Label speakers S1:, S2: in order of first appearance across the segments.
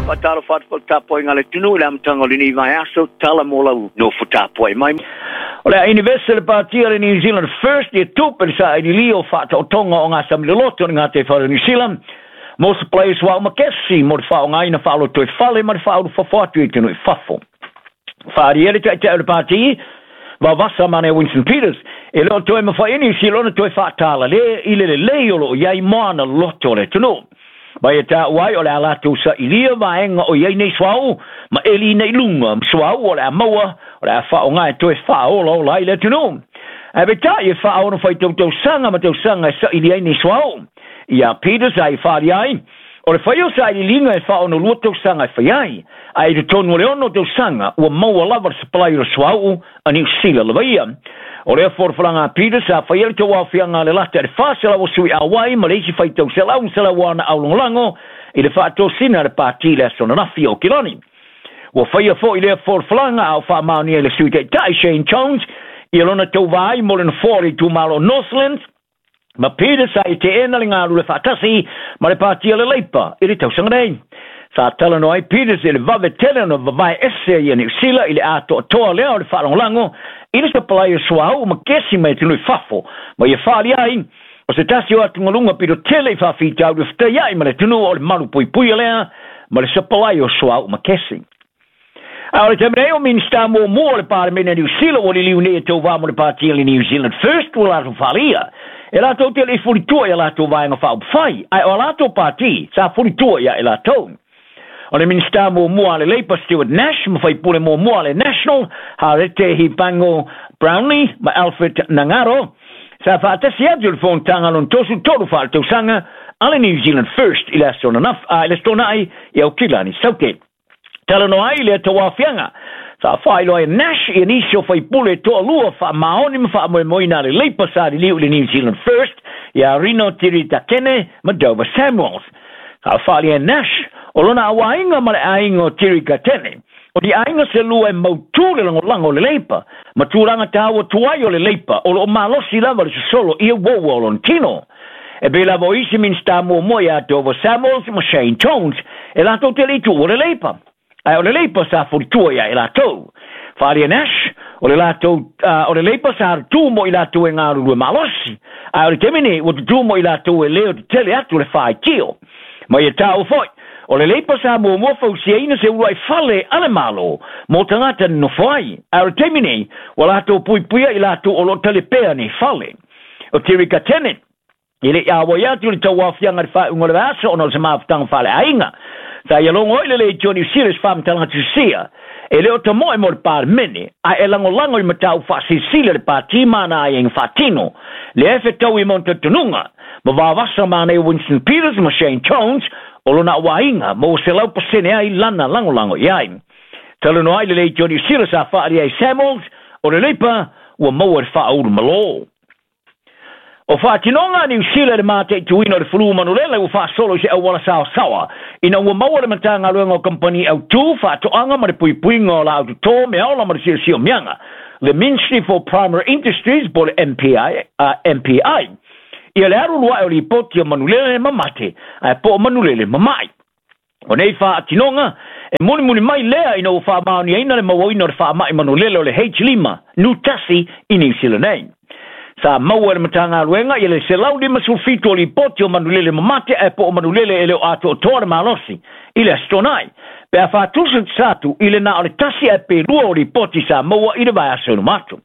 S1: Faatalofa atu foi i le tapuaiga a le atunuu i le amataga o lenei vaiaso, tala mo lau nofo tapuai mai. O le a inivese le pati a le New Zealand First ia tupe le sailiili o faataotoga o gasami loloto o le gataifale o Niu Sila mo supply o suauu ma kesi mo le faaaogaina faalotoifale ma le faaulufafo atu i atunuu i fafo. Faaalia le taitai o le pati Vavasa ma Winston Peters e le o toe mafai e Niu Sila ona toe faatalale i le lelei o lo o i ai mo ana loto o le atunuu. Mai e taua ai o le a latou sailia vaega o i ai nei suauu ma eli ina i luga ma suauu o le a maua o le a faaaoga e toe faaolaola ai le atunuu. Ae peitai e faaono faitau tausaga ma tausaga e saili ai nei suauu. Ia Peters a i faaalia ai, o le fai o sailiiliga e faaonolua tausaga e fai ai, ae i totonu o le 6 tausaga ua maua lava le supply o le suauu a Niu Sila lava ia. O lea folafolaga a Peter sa faia le tauaofiaga a le lata i le 400 o sui auai ma le isi faitau 100 o ana aulagolago i le faatosina a le pati i le aso ananafi o Aukilani. Ua faia foi lea folafolaga a o faamaonia i le Sui Taitai Shane Jones ia lona tauva ai mo le nofoa o le itumalo o Northlands, ma Peter sa i teena le galulue faatasi ma le pati a le Leipa i le tausaga nei. Sa talanoa ai Peters i le vave tele ona vavae ese ia Niu Sila i le atoatoa lea o le faalagolago i le sapalai o suauu ma kesi mai atunuu i fafo, ma ia faalia ai o se tasi o atugaluga pito tele i faafitauli o fetaiai ma le atunuu o le malu puipuia lea ma le sapalai o suauu ma kesi. A o le taimi nei o Minisita muamua o le Palemene a Niu Sila ua liliu nei e tauva mo le pati a le New Zealand First ua latou faaalia e latou te le i fulitua i a latou vaega faaupufai, ae o a latou pati sa fulitua ia i latou. O le Minisita muamua a le Labour Stuart Nash ma faipule muamua a le National Harete Hipango Brownlee ma Alfred Nangaro sa faatasi atu i le fonotaga lona 33 faaletausaga a le New Zealand First i le aso ananafi, i le Aso Toonai i Aukilani Southgate. Talanoa ai lea tauaofiaga. Sa faailoa e Nash ia nisi o faipule toalua faamaoni ma faamoemoeina a le Leipa sa liliu i le New Zealand First ia Rino Tirikatene ma Dover Samuels. Sa faaalia e Nash o lona auaiga ma le aiga o Tirikatene, o ni aiga se lua e mautū le lagolago o le Leipa ma tulaga taua tuai o le Leipa o lo o malosi lava le sosolo i uaua o lona tino. E pei lava o isi Minisita muamua ia Dover Samuels ma Shane Jones e latou te le i tuua le Leipa. Ae o le Leipa sa fulitua ia i latou. Faaalia Nash, o le latou, o le Leipa sa tutū mo i latou e galulue malosi. Ae o le taimi nei, ua tutū mo i latou e leo tetele atu le faitio. Ma ia taua foi, o le Leipa sa muamua fausiaina se uluai fale a le Malo mo tagata nonofo ai. Ae o le taimi nei, ua latou puipuia i latou o lo o talepea nei fale. O Terika Tennant, e le i auai atu i le tauaofiaga i le faaiuga o le vaiaso ona o se mafutaga faaleaiga. Sa ia logo ai le Leitio Niu Sila i se faamatalaga tusia, e le o tamoe mo le Palemene, ae e lagolago i mataupu faasilasila le pati ma ana aiaiga faatino. Lea e fetaui ma ona talitonuga, ma vavasa ma ana Winston Peters ma Shane Jones o lona auaiga ma ua 100% ai lana lagolago i ai. Talanoa ai le Leitio Niu Sila sa faaalia ai Samuels, o le Leipa ua maua i le faaulu malo. O faatinoga a Niu Sila i le mataituina o le fulu manulele ua faasolo i se auala saosaoa ina ua maua le Matagaluega o Kamupani Autū, Faatoaga ma le Puipuiga o Laau Totō, Meaola ma le Siosiomiaga, le Ministry for Primary Industries po o le MPI, MPI, ia le alu ae o lipoti o manulele ma mate ae po o manulele ma mai. O nei faatinoga, e mulimuli mai lea ina ua faamaoniaina le mauaina o le faamai manulele o le H5 N1 i Niu Sila nei. Sa maua e le Matagaluega ia le 157 o lipoti o manulele mamate ae po o manulele e le o atoatoa le malosi i le Aso Toonai, pe a faatusa atu i le na o le 1 ae pe 2 o lipoti sa maua i le vaiaso i luma atu.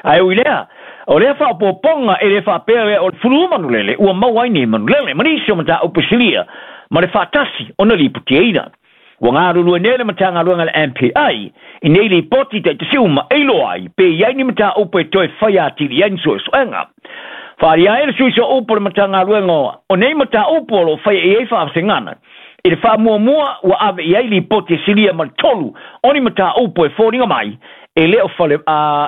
S1: Ae ui lea, o lea faaopoopoga e le faapea lea o le fulu manulele ua maua ai nei manulele ma nisi o mataupu silia ma le faatasi ona lipotiaina. Ua galulue nei le Matagaluega a le MPI i nei lipoti taitasi uma e iloa ai pe i ai ni mataupu e toe fai atili ai ni suesuega. Faaalia ai le sui sooupu o le Matagaluega o nei mataupu o lo o faia i ai faavasegana i le faamuamua ua ave i ai lipoti e silia ma le 3 o ni mataupu e foliga mai e le o fale,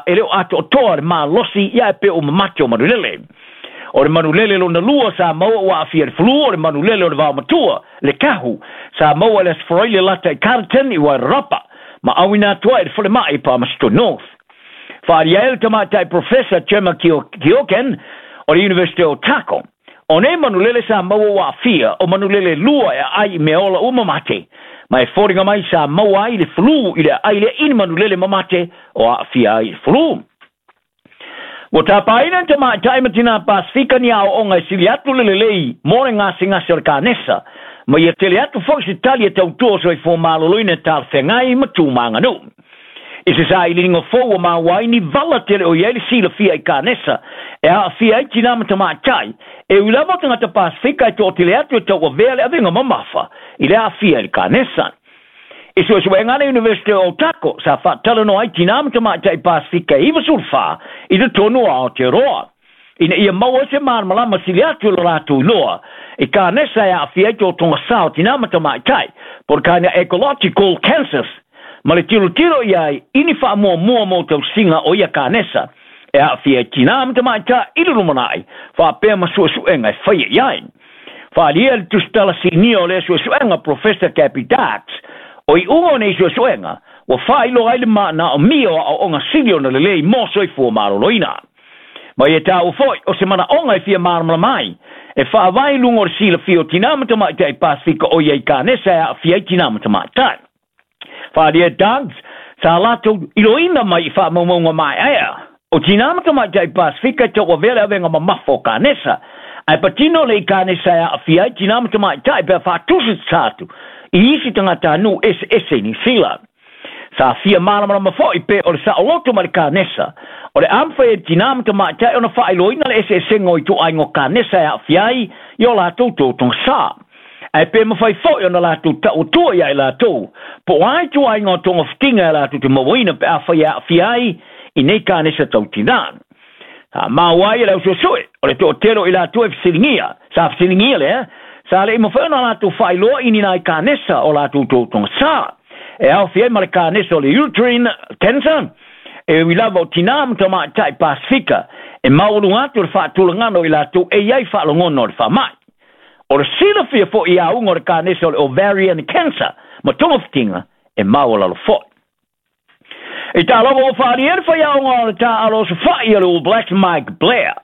S1: e le o atoatoa le malosi ia e pe o mamate o manulele. O le manulele lona lua sa maua ua aafia i le flu, o le manulele o le vaomatua, le kahu, sa maua i le Aso Faraile lata i Carterton i Wairarapa, ma auina atu ai i le falemai i Palmerston North. Faaalia ai le tamaitai Professor Gemma Keoghan o le University o Otago. O nei manulele sa maua ua aafia, o manulele lua e aai i meaola ua mamate, Ma e foliga mai sa maua ai le flu i le aai lea i ni manulele mamate o aafia ai i le flu. Ua tapaina le tamaitai ma tinā Pasefika ni aoaoga e sili atu le lelei mo le gasegase o le kanesa, ma ia tele atu foi se tali e tautua o soifua maloloina e talafeagai ma tu ma aganuu. I se sailiiliga fou ua maua ai ni vala tele o i ai le silafia i kanesa e aafia ai tinā ma tamaitai, e ui lava o tagata Pasefika e toatele atu e tauavea le avega mamafa i le aafia i le kanesa. I suesuega a le Iunivesite o Otago, sa faatalanoa ai tinā ma tamaitai Pasefika e 94 i totonu o Aotearoa, ina ia maua ai se malamalama sili atu i lo latou iloa i kanesa e aafia ai totoga sa o tinā ma tamaitai, po o le gynecological cancers, ma le tilotilo i ai i ni faamuamua mo tausiga o ia kanesa e aafia ai tinā ma tamaitai i le lumanai, faapea ma suesuega e faia i ai. Faaalia le tusitala sinia o lea suesuega, Professor Gabby Darks, o iuga o nei suesuega, ua faailoa ai le manaomia o aoaoga sili ona lelei mo soifua maloloina. Ma ia taua foi, o se manaoga e fia malamalama ai, e faavae i luga o le silafia o tinā ma tamaitai Pasefika o i ai kanesa e aafia ai tinā ma tamaitai. Faaalia Darks, sa latou iloina mai i faamaumauga maeaea, o tinā ma tamaitai Pasefika e tauavea le avega mamafa o kanesa, ae patino le i kanesa e aafia ai tinā ma tamaitai pe a faatusatusa atu i isi tagatanuu eseese i Niu Sila. Sa fia malamalama foi pe o le saoloto ma le kanesa, o le a mafai e tinā ma tamaitai ona faailoaina le eseesega o ituaiga o kanesa e aafia ai i o latou totoga sa. Ae pe mafai foi ona latou tau atua ia i latou, po o a ituaiga o togafitiga e latou te mauaina pe afai e aafia ai i nei kanesa tau tinā. Sa maua ai e le au suesue, o le toatele o i latou e fesiligia, sa fesiligia lea, sa le i mafai ona latou faailoa i ni nai kanesa o latou totoga sa, e aofia ai ma le kanesa o le uterine cancer, e ui lava o tinā ma tamaitai Pasefika, e maualuga atu le faatulagana o i latou e i ai faalogona o le faamai. O le silafia foi i auga o le kanesa o le ovarian cancer ma togafitiga e maualalo foi. I tā lava ua faaalia le faiaoga o le taaalo osofai a le All Blacks Mike Blair,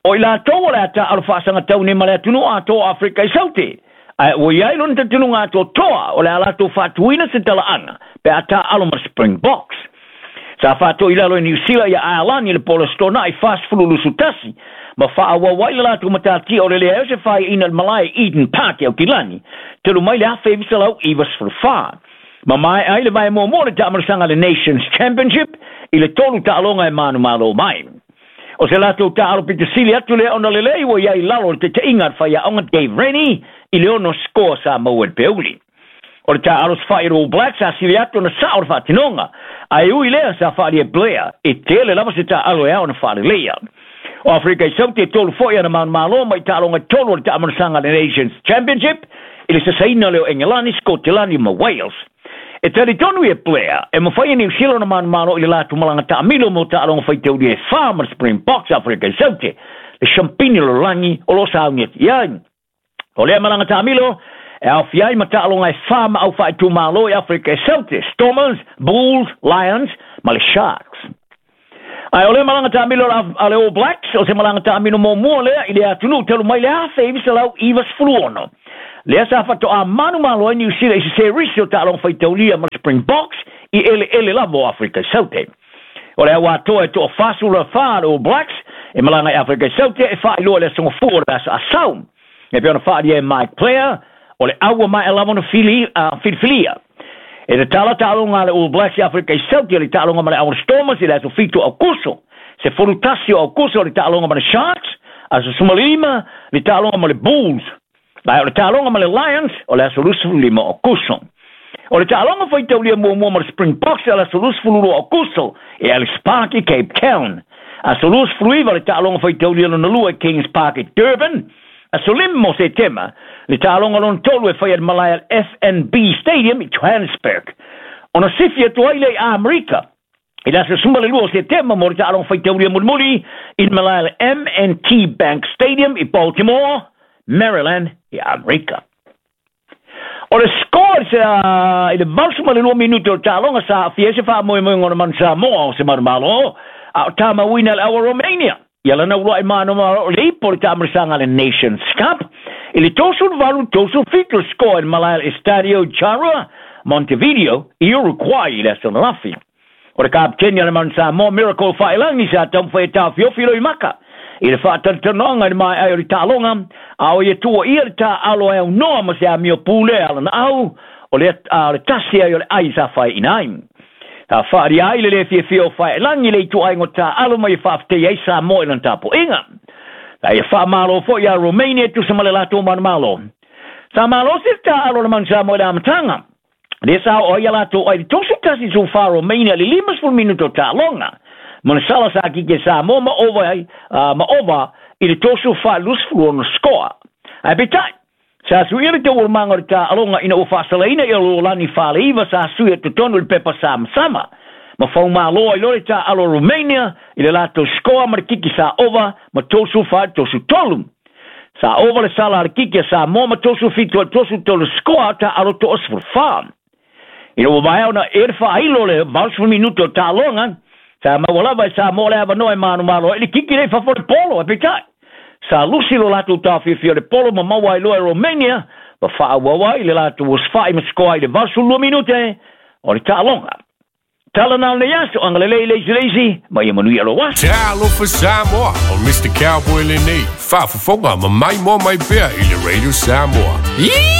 S1: o i latou o le a taaalo faasagatau nei ma le atunuu atoa o Afrika i Saute, ae ua i ai lona talitonuga atoatoa o le a latou faatuina se talaaga pe a taaalo ma le Springboks. Sa faatoi i lalo e Niu Sila ia Aelani i le po o le Aso Toonai 40 21 ma faaauau ai le latou matatia o le leai o se faiaina i le malae Eden Park i Aukilani talu mai le 1994. Ma maea ai le vae muamua o le taamalosaga le Nations Championship i le tolu taaloga e manumalo mai. O se latou taaalo pito sili atu lea ona lelei ua i ai i lalo o le taitaiga a le faiaoga Dave Rennie i le 6 sikoa sa maua i le peuli. O le taaalo sofai a le All Blacks sa sili atu ona sao le faatinoga, ae ui lea sa faaalia e Blair e tele lava se taaalo e ao ona faaleleia. O Afrika i Saute e tolu foi ana manumalo mai taaloga e tolu o le taamalosaga le Nations Championship i le sasaina lea o Engelani, Skotelani ma Wales. E talitonu ia Blair e mafai e Niu Sila ona manumalo i le latou malaga taamilo mo taaloga faitaulia e fa ma le Springboks Afrika i Saute, le Shampini o le lalolagi o lo o sauni atu i ai. O lea malaga taamilo e aofia ai ma taaloga e fa ma au faaitumalo i Afrika i Saute, Stormers, Bulls, Lions ma le Sharks. Ae o lea malaga taamilo a le All Blacks, o se malaga taamilo muamua lea i le atunuu talu mai le 1996. Lea sa faatoa manumalo ai Niu Sila i se serisi o taaloga faitaulia ma le Springboks i eleele lava o Afrika i Saute. O le au atoa e toa 44 le All Blacks e malaga i Afrika i Saute e faailoa i le aso Gafua o le aso Asau. E pei ona faaalia e Mike Blair, o le au ua maea lava ona filifilia. E tatala taaloga a le All Blacks i Afrika i Saute le taaloga ma le au Stormers i le aso 7 o Aokuso. 11 o Aokuso le taaloga ma le Sharks, aso 15 le taaloga ma le Bulls. Ae o le taaloga ma le Lions o le aso 25 o Aokuso. O le taaloga faitaulia muamua ma le Springboks o le aso 22 o Aokuso e Ellis Park i Cape Town. Aso 29 le taaloga faitaulia lona lua i Kings Park i Durban. Aso 5 o Setema le taaloga lona tolu e faia i le malae al FNB Stadium i Johannesburg. Ona sifi atu ai lea i Amerika i le aso 12 o Setema mo le taaloga faitaulia mulimuli i le malae al M&T Bank Stadium i Baltimore, Maryland i Amerika. O le score i le 82 minute o le taaloga sa aafia ai se faamoemoega o le Manu Samoa o se manumalo, a o tamauina e le au a Romania ia lana uluai manumalo o le ipo o le taamalosaga a le Nations Cup i le 38-37 le score i le malae al Estadio Charrua. Montevideo i Uruguay i le aso ananafi. O le kapiteni a le Manu Samoa Miracle Fa'ailagi sa taumafai e taofiofi loimaka i le fa'atalatalanoaga i le mae'ai o le ta'aloga, a o ia tu'uaia le ta'alo e aunoa ma se amio pulea alana au o le a o le tasi ai o le ai sa fai'ina ai. Sa fa'alia ai le lē fiafia o Fa'ailagi le itu'aiga o ta'alo ma ia fa'afetai ai Samoa i lana tapu'iga. Sa ia fa'amālō fo'i iā Romania e tusa ma le latou manumalo. Sa malosi le ta'alo o le Manu Samoa i le amataga, lea sa oo ai a latou ai i le 31 14 Romania i le 50 minuto o ta'aloga. Ma le sala sa kiki e Samoa ma ova ai ma ova i le 34 26 skoa. Ae peitai, sa suia le taualumaga o le ta'aloga ina ua fa'asalaina ia Luolani Faleiva sa sui totonu i le pepa samasama. Ma faumālō ai loa le ta'alo o Romania i le latou skoa ma le kiki sa ova ma 34 33. Sa ova le sala a le kiki a Samoa ma 37 ai 33 skoa ta'alo to'a 14. Ina ua maea ona ea le fa'ailo le 80 minuto o ta'aloga, sa maua lava e Samoa le avanoa e manumalo ai le kiki lea i fafo o le polo, ae peitai, sa lusi lo latou taofiofia o le polo ma maua ai loa e Romania ma fa'aauau ai le latou osofai ma skoa i le 82 minute o le ta'aloga. Tala na o lenei aso, agalelei le isi le isi, ma ia manuia lou aso.
S2: Talofa Samoa, o Mr. Cowboy lenei, faafofoga ma maimoa mai pea i le Radio Samoa.